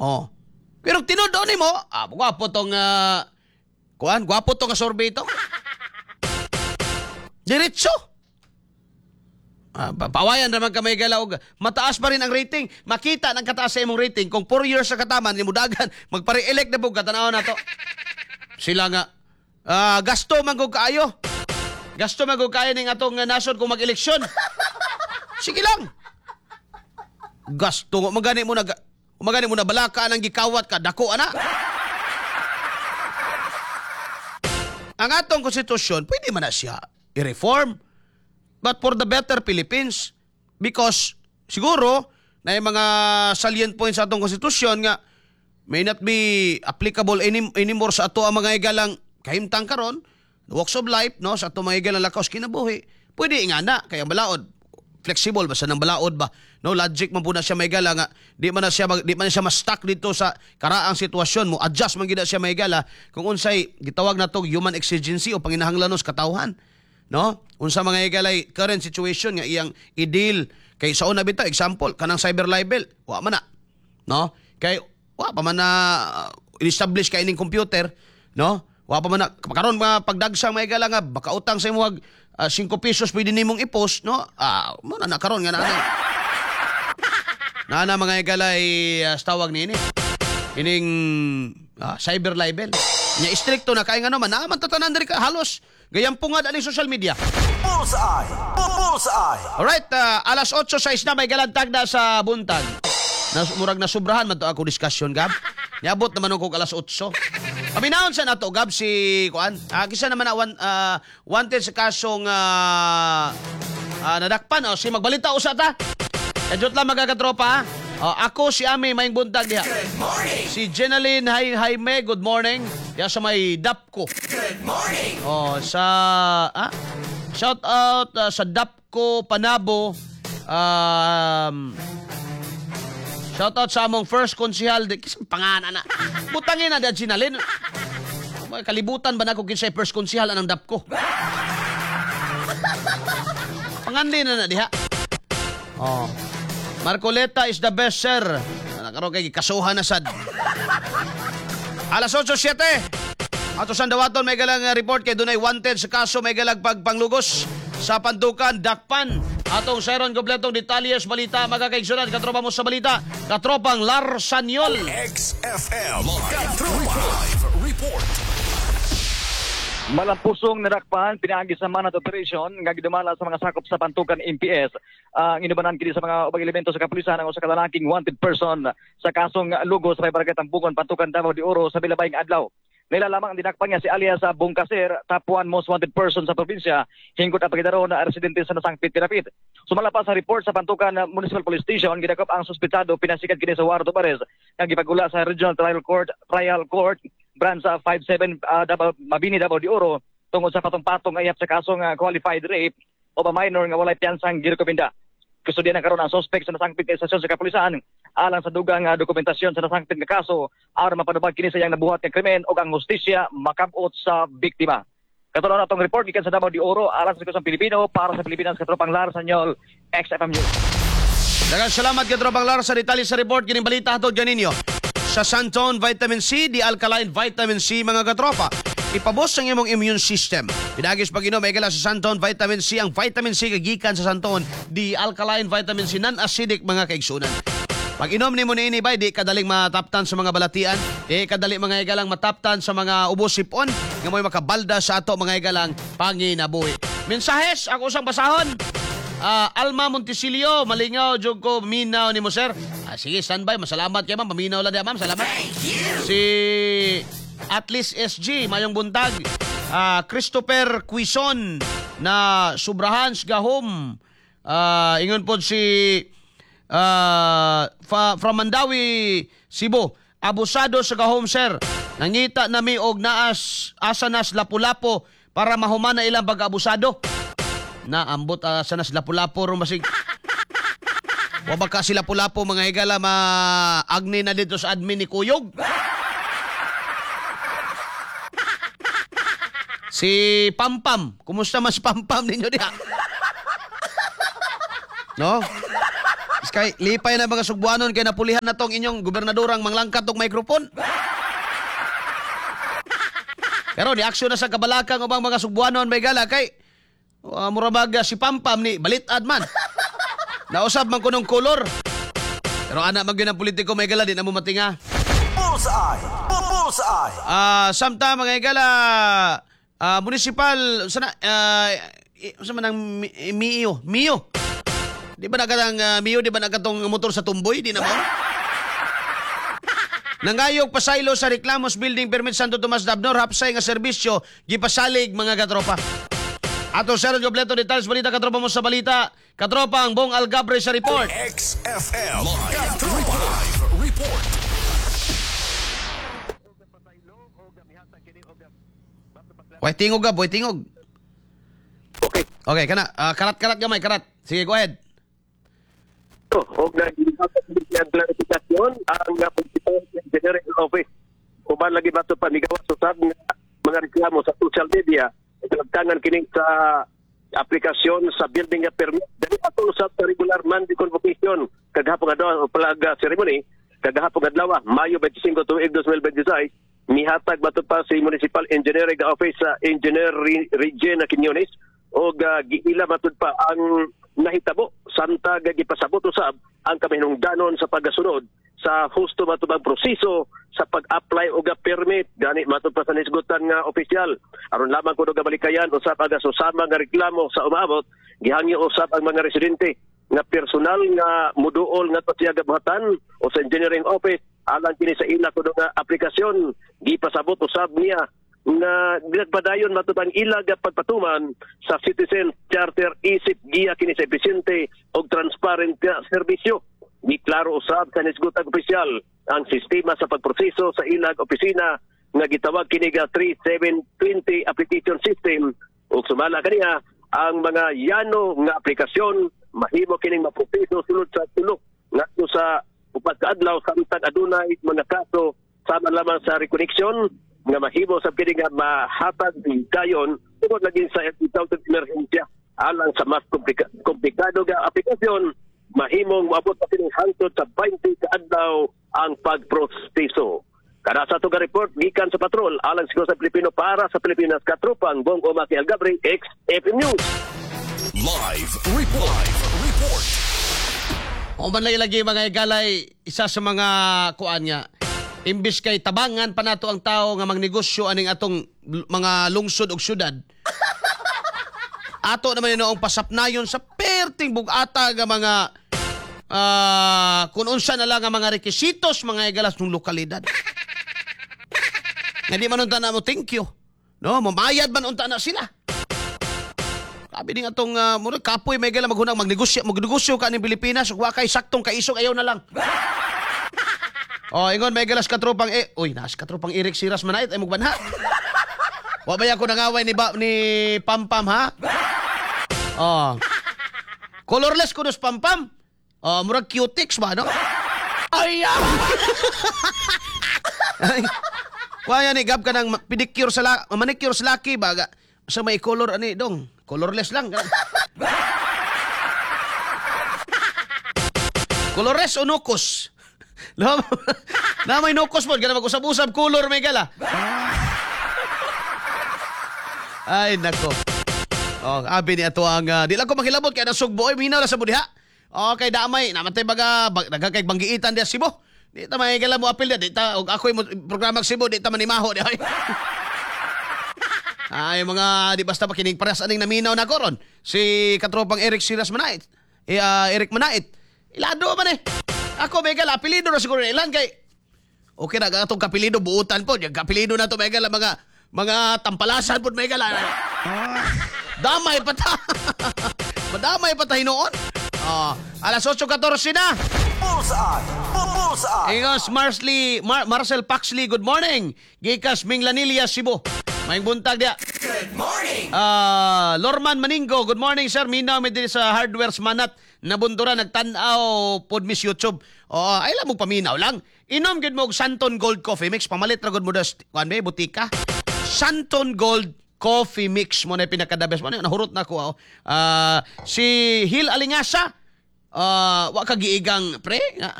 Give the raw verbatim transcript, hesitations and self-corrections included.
Oh. Pero tinuod nimo, ah, gwapo tong uh, kuan, gwapo tong survey ito. Diretso. Ah, pa- pawayan naman ka may gala og mataas pa rin ang rating. Makita ng kataas sa imong rating kung four years sa kataman ni mudagan magpare-elect na pug katanaw na to. Sila nga ah, gasto man gud kaayo. Gasto man gud kaayo ning atong uh, nasod kung mag-eleksyon. Sige lang. Gasto magani mo na magani mo na balaka ang gikawat ka dako ana. Ang atong konstitusyon pwede man na siya i-reform. But for the better Philippines because siguro na yung mga salient points sa atong konstitusyon nga may not be applicable any, anymore sa ato ang mga igalang kahimtang karon, walks of life, no, sa ato mga igalang lakaw sa kinabuhi. Pwede nga na kaya balaod flexible basta ng balaod ba, no, logic man po na siya may gala nga di man na siya mag, di man na siya ma-stuck dito sa karaang sitwasyon mo, adjust man gid na siya may gala kung unsay gitawag nato human exigency o panginahanglanon sa katawhan, no, unsa mga higalay current situation nga iyang i-deal. Kay sa una bitaw, example kanang cyber libel, wa man na, no, kay wa pa man na uh, establish kay ining computer, no, wa pa man na karon mga pagdagsang mga higala nga baka utang sa imong uh, five pesos pwede nimong i-post, no, ah, mo na na karon nga na na na mga higalay uh, tawag niini ining ah, cyber libel nya istrikto na kay ngano man naa man tatanan diri ka halos gayampungad aning social media. Bullseye! Bullseye! Alright, ah, alas otso sais na may galantag na sa buntag. Nas, murag nasubrahan man to ako discussion, Gab. Niabot naman ko alas otso. Paminahon sa nato, Gab, si kuan. Ah, kisa naman na wan, ah, wanted sa kasong ah, ah, nadakpan. O, si magbalita usa ta. Kajot lang mga katropa, ha? O, ako si Ami, maayong buntag diha. Good morning! Si Jenaline Hay Jaime, good morning. Ya sa may Dapco. Good morning! Oh, sa ah, shout out ah, sa Dapco Panabo. Um, shout out sa among first konsihal di kisang pangalan na. Butangin na di Jenaline. May kalibutan ba na ko kinsay first konsihal anang Dapco? Panganli na na diha. Oh. Marcoleta is the best, sir. Nakaroon kay kasuhan na sad. Alas otso siyete. Ato sa dawaton may galang uh, report kay dunay wanted sa kaso may galag pagpanglugos sa Pantukan, Dakpan. Atong Sharon kompletong detalye sa balita mga kaigsunan, katropa mo sa balita, katropang Larsanyol. X F M Katropa Live Report. Malampusong nadakpan pinaagi sa manhunt operation nga gidumala sa mga sakop sa Pantukan M P S. Ang inubanan kini sa mga ubang elemento sa kapulisan ang usa ka lalaking wanted person sa kasong lugos sa may barangay Tambungon, Pantukan, Davao de Oro sa milabayng adlaw. Nila lamang ang dinakpan niya si alias sa Bungkaser, top one most wanted person sa probinsya, hinggot ang pagkidaro na residente sa nasangpit pinapit. Sumala pa sa report sa Pantukan Municipal Police Station, gidakop ang suspetado pinasikat kini sa warrant of arrest nga gipagula sa Regional Trial Court, Trial Court Branch fifty-seven uh, Davao, Mabini, Davao de Oro tungod sa patong-patong ayap sa kasong uh, qualified rape o ba minor nga walay piyansang girekomenda. Kustodiya na karon ang suspect sa nasangpit nga istasyon sa kapulisan alang sa dugang uh, dokumentasyon sa nasangpit nga kaso aron mapanubag kini sa iyang nabuhat nga krimen ug ang hustisya makabot sa biktima. Katulad na atong report gikan sa Davao de Oro alang sa Kusang Pilipino para sa Pilipinas, katropang Lar Sanyol, X F M News. Daghang salamat katropang Lar sa detalye sa report kining balita hatod ganinyo sa Santon Vitamin C, di alkaline vitamin C mga katropa. Ipabos ang imong immune system. Pinagis pag inom, may sa Santon Vitamin C. Ang vitamin C kagikan sa Santon, di alkaline vitamin C, non-acidic mga kaigsunan. Pag inom nimo niini bay, di kadaling mataptan sa mga balatian, di kadali mga igalang mataptan sa mga ubos sipon, nga mo'y makabalda sa ato mga igalang panginabuhi. Mensahes, ako sang basahon. Ah, Alma Montesilio, malingaw jud ko minaw nimo, sir. Ah, sige, standby. Masalamat kay ma'am. Paminaw lang diya, ma'am. Salamat. Si Atlas S G, mayong buntag. Ah, Christopher Quizon na Subrahan gahom. Ah, ingon pod si ah, fa, from Mandawi, Cebu. Abusado sa gahom, sir. Nangita nami og naas asa nas Lapu-Lapu para mahuman na ilang pag-abusado. Na ambot uh, sa nas Lapu-Lapu ro masig. Wa ba ka sila Lapu-Lapu mga higala maagni na dito sa admin ni Kuyog? Si Pampam, kumusta mas Pampam ninyo diha? No? Kay lipay na mga Sugbuanon kay napulihan na tong inyong gobernadorang manglangkat og microphone. Pero ni aksyon na sa kabalakang ubang mga Sugbuanon may gala kay uh, mura bag si Pampam ni balitad man. Nausab man kunong kolor. Pero ana man gyud ang politiko may gala di na mo matinga. Bullseye. Bullseye. Ah, samtang mga higala, ah, municipal sana uh, sa man ang mi- Mio, Mio. Di ba nagatang uh, Mio, di ba nagatong motor sa tumboy, di na mo? Nangayog pasaylo sa reklamos building permit Santo Tomas Dabnor hapsay nga serbisyo gipasalig mga katropa. Ato sa kompleto detalles balita katropa mo sa balita. Katropa ang Bong Algabre sa report. X F M. Katropa. Live Report. Way tingog ka, boy tingog. Okay. Okay, kana ah, karat-karat gamay, karat. Sige, go ahead. Og naging klarifikasyon ang uh, Municipal Engineering Office. Uban lagi bato pa migawas usab nga mga reklamo sa social media nagtangan kini sa aplikasyon sa building nga permit. Dali ato usab sa regular monthly convocation kagahapon adlaw o flag ceremony kagahapon adlaw Mayo twenty-five tuig twenty twenty-six mihatag bato pa si Municipal Engineering Office sa Engineer Regina Quiñones og uh, giila matud pa ang nahitabo samtang gipasabot usab ang kaminungdanon sa pagasunod sa husto matubang proseso sa pag-apply og permit gani matud pa sa nisgutan nga opisyal aron lamang kuno gabalikayan usab ang susama nga reklamo sa umaabot gihangyo usab ang mga residente nga personal nga muduol nga siya gabuhatan o sa engineering office alang kini sa ila kuno nga aplikasyon gipasabot usab niya nga nagpadayon matubang ilag pagpatuman sa Citizen Charter isip giya kini sa episyente og transparent nga serbisyo. Giklaro usab sa nisgutang opisyal ang sistema sa pagproseso sa ilag opisina nga gitawag kini nga three seven two zero application system ug sumala kaniya ang mga yano nga aplikasyon mahimo kining maproseso sulod sa tulo ngadto sa upat ka adlaw samtang adunay mga kaso sama lamang sa reconnection nga mahimo sa kini nga mahatag dayon tungod lagi sa itawag emerhensya alang sa mas komplika- komplikado nga aplikasyon mahimong moabot pa kining hangtod sa twenty ka adlaw ang pagproseso. Kada sa ato nga report gikan sa patrol alang sa Pilipino para sa Pilipinas katropang Bong Omaki Algabre, X F M News. Live report. Live report. O man lagi lagi mga igalay isa sa mga kuan nga imbis kay tabangan pa nato ang tao nga magnegosyo aning atong mga lungsod ug syudad. Ato naman noong pasapnayon sa perting bugata nga mga uh, kung unsa na lang ang mga rekisitos mga igalas ng lokalidad. Nga di man unta na mo thank you. No, mamayad man unta na sila. Sabi din atong uh, murag kapoy may gala maghunang magnegosyo, magnegosyo ka ning Pilipinas ug wa kay saktong kaisog ayaw na lang. Oh, ingon may galas katropang eh, uy, nas katropang Eric Siras manait ay mugbanha. Wa ba ko nangaway ni ba, ni Pampam ha? Oh. Colorless kunos Pampam. Oh, murag cutix ba no? Ay. Ay. Wa yan ni gab ka ng pedicure sa la, manicure sa laki ba sa may color ani dong, colorless lang. Colorless o nukos? Na, na may nukos po, gana mag-usab-usab color may gala. Ay nako. Oh, abi ni ato ang uh, di lang ko makilabot kay nasugbo oy minaw la sa budiha. Okay, damay namatay baga bag, nagkakay banggiitan diya Cebu. Di ta may gala mo apil diya, di ta og ako'y mo programa Cebu di ta manimaho di ay. Ay mga di basta pakinig paras aning naminaw na koron. Si katropang Eric Siras Manait. Eh, uh, Eric Manait. Ilado man eh. Ako may gala apelido na siguro ilan kay okay na atong kapelido buutan po. Yung kapelido na to may gala mga mga tampalasan po may gala. Damay pa ta. Madamay pa ta hinuon. Oh, alas otso katorse na. Bullseye. Bullseye. Ingos Marsley Mar Marcel Paxley, good morning. Gikas Minglanilla, Cebu. Maayong buntag diya. Good morning. Uh, Lorman Maningo, good morning sir. Minaw mi diri sa Hardware Manat nabundura nagtan-aw pod miss YouTube. Oo, ay lang mo paminaw lang. Inom gid mo og Santon Gold Coffee Mix. Pamalit ra gud mo das kuan be butika. Santon Gold Coffee Mix mo na pinaka the best mo na nahurot na ko. Uh, si Hil Alingasa, Ah, wa ka giigang, pre? Nga.